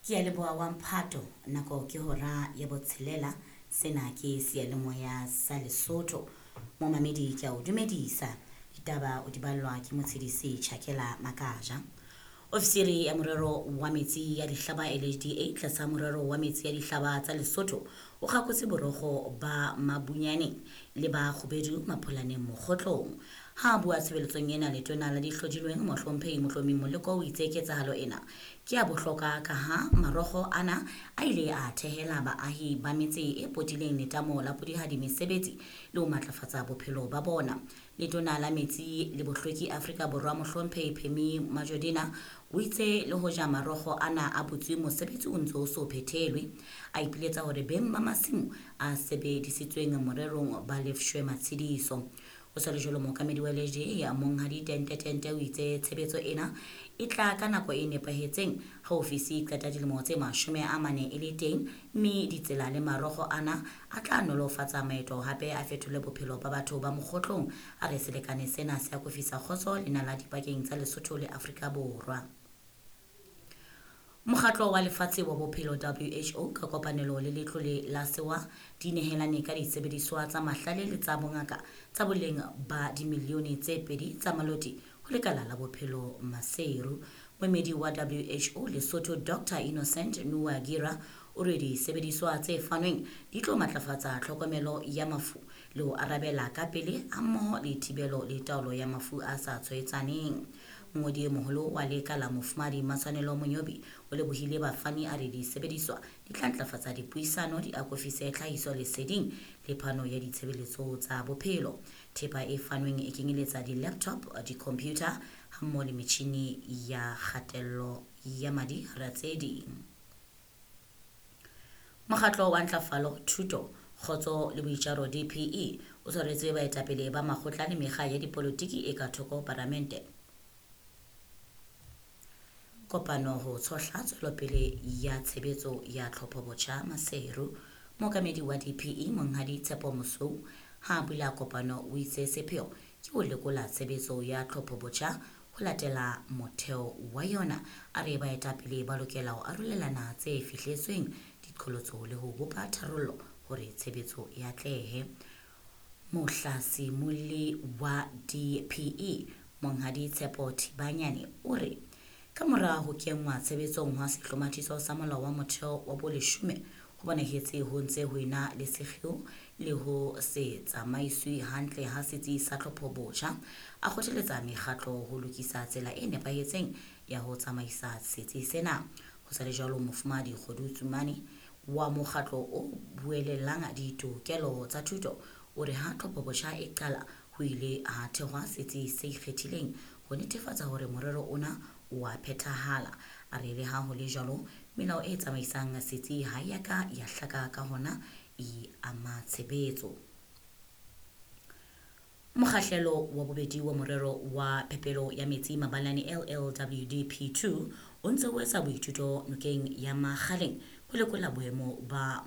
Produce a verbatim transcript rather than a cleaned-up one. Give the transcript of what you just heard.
Ke a leboha wa mphato, nako ke hora ya botshelela. Sena ke seyalemoya sa Lesotho. Momamedi ke a o dumedisa. Ditaba o di ballwa ke motshedisi Tjhakela Makaja. Ofisiri ya morero wa metsi ya dihlaba L H D A tlasa morero wa metsi ya dihlaba tsa Lesotho o kgakotse borokgo ba Mabunyaneng le ba Kgubedu Mapholaneng Mokgotlong. Ha a bua tshebeletsong ena, letona la dihlodilweng Mohlomphehi Mohlomi Moleko o itse ketsahalo ena ke ya bohlokwa ka ha marokgo ana a ile a thehela baahi ba metse e potileng letamo la Polihali mesebetsi le ho matlafatsa bophelo ba bona. Letona la Metsi le Bohlweki Afrika Borwa Mohlomphehi Pemmy Majodina o itse le hoja marokgo ana a butswe, mosebetsi o ntse o so phethelwe. A ipiletsa hore beng ba masimo a sebedisitsweng morerong ba lefshwe matshediso. Ho sa le jwalo, mookamedi wa L H D A Monghadi Tente Tente o itse tshebetso ena e tla ka nako e nepahetseng ha ofisi e qeta dilemo tse mashome a mane e le teng, mme ditsela le marokgo ana a tla nolofatsa maeto hape a fetole bophelo ba batho ba Mokgotlong. A re selekane sena se akofisa kgotso le nala dipakeng tsa Lesotho le Afrika Borwa. Mokgatlo wa Lefatshe wa Bophelo W H O ka kopanelo le Letlole la Sewa di nehelane ka disebediswa tsa mahlale le tsa bongaka tsa boleng ba dimilione tse pedi tsa maloti ho lekala la bophelo Maseru. Moemedi wa W H O Lesotho Doctor Innocent Nuwagira o re disebediswa tse fanweng di tlo matlafatsa tlhokomelo ya mafu le ho arabela ka pele hammoho le thibelo le taolo ya mafu a sa tshwaetsaneng. Mongodi e moholo wa lekala Mofumahadi Matshwanelo Monyobi o lebohile bafani, a re disebediswa di tla ntlafatsa dipuisano, di akofise tlhahiso leseding le phano ya ditshebeletso tsa bophelo. Thepa e fanweng e kenyeletsa di-laptop, di-computer hammoho le metjhini ya kgatello ya madi hara tse ding. Mokgatlo wa Ntlafalo, Thuto, Kgotso le Boitjaro D P E o tshwaretse baetapele ba makgotla le mekga ya dipolotiki e ka thoko palamente kopano ho tshohla tswelopele ya tshebetso ya tlhophobotjha Maseru. Mookamedi wa D P E Monghadi Tshepo Mosweu ha a bula kopano o itse sepheo ke ho lekola tshebetso ya tlhophobotjha ho latela motheo wa yona. A re baetapele ba lokela ho arolelana tse fihletsweng, diqholotso le ho bopa tharollo hore tshebetso e atlehe. Mohlasimolli wa D P E Monghadi Tshepo Thibanyane o re ka mora ho kenngwa tshebetsong hwa sehlomathiso sa Molao wa Motheo wa boleshome, ho bonahetse ho ntse ho ena le sekgeo le ho se tsamaiswe hantle ha setsi sa tlhophobotjha. A kgothaletsa mekgatlo ho lokisa tsela e nepahetseng ya ho tsamaisa setsi sena. Ho sa le jwalo, Mofumahadi Kgodu Tsumane wa mokgatlo o buellang ditokelo tsa thuto o re ha tlhophobotjha e qala ho ile ha thehwa setsi se ikgethileng ho netefatsa hore morero ona o a phethahala. A re le ha ho le jwalo, melao e tsamaisang setsi ha ya ka ya hlaka, ka hona e ama tshebetso. Mokgahlelo wa bobedi wa morero wa phepelo ya metsi Mabalane L L W D P two o ntse o etsa boithuto nokeng ya Makgaleng ho lekola boemo ba